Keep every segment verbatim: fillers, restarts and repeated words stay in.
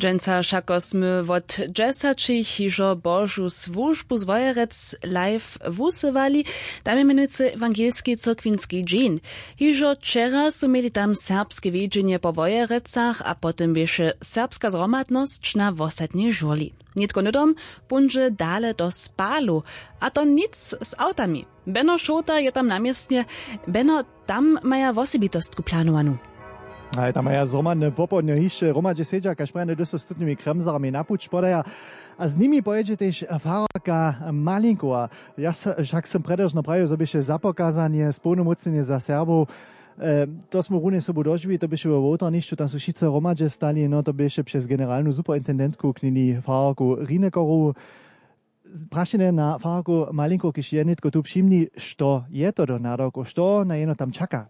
Dźensa wšako smy wot dźesaćich hižo božu słužbu z wojerec live wusywali. Tam je mjenujcy ewangelski cyrkwinski dźeń. Hižo wčera su měli tam serbske wjedźenje po wojerecach a potom běše serbska zhromadnosć na wosadnjej žurli. Nětko hnydom póńdźe dale do spalu. A to nic z awtami. Beno šołta je tam na městnje. Beno, tam maja wosebitostku planowanu. A tam maja zhromadne popołdnjo hišće hromadźe sedźa kaž prajene dysostutnymi kremzarami na puć podaja. A z nimi pojědźe tež fararka malinkowa. Ja s- wšak sym prjederžno prajił zo běše zapokazanje społnomócnjenje za serbow. To smy runje sobu dožiwili, to běše we wołtarnišću, tam su wšitcy hromadźe stali, no to běše přez generalnu superintendentku knili fararku rinekorowu. Prašenje na fararku malinkow, kiž je nětko tu přimni, što je to do nadawkow, što na jeno tam čaka?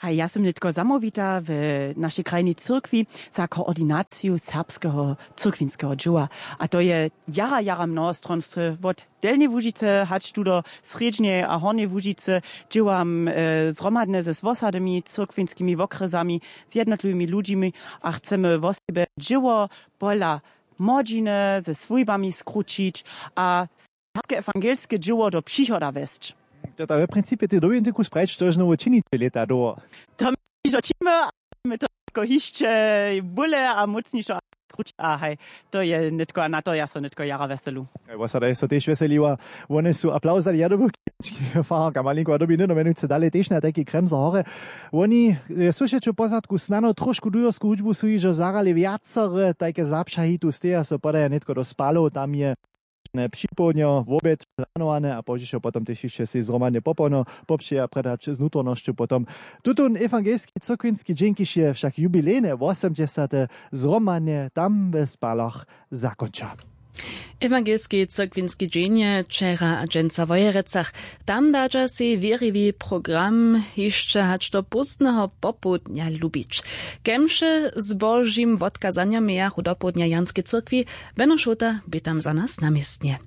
Haj, ja sym nětko zamołwita w našej krajnej cyrkwi za koordinaciju serbskeho cyrkwinskeho dźěła. A to je jara jara mnohostronstwy wot delnjej łužicy hač tu do srjedźneje a hornjeje łužicy. Dźěłam zhromadne z wosadymi cyrkwinskimi wokrjesami, z jednotliwymi ludźimi, a chcemy wosebje dźěło pola młodźiny ze swójbami skrućić a serbske ewangelske dźěło do přichoda wjesć. To ta we principje tej dowintiku sprajć to žnowo činiće lěta dołho. To my hižo činimy, a my to jako hišće bóle a mócnišo skrući a haj, to je nětko a na to ja so nětko jara wjeselu. Wosada je so tež wjeseliła. Wone su aplauz dali, ja dobył fararka malinkowa dobi hnydom mjenujcy dalej tež na tajki kremzer horje. Woni je słyšeć w pozadku snano trošku dujorsku hudźbu su hižo zahrali wjacore tajke zapřahi tu steja so podaja nětko do spalow tam je připołdnjo wobjed planowane a pozdźišo potom tež hišće sej zhromadnje popołdnjo popřeja prjedać z nutřornosću potom. Tutón ewangelski cyrkwinski dźeń kiž je wšak jubilejne wosomdźesate zhromadnje tam w spalach zakónča. Ewangelski cyrkwinski dźeń je wčera a dźensa w wojerecach. Tam dadźa sej wěriwi program hišće hač do pózdneho popołdnja lubić. Kemše z božim wotkazanjom mějachu dopołdnja w janskej cyrkwi. Beno šołta bě tam za nas na městnje.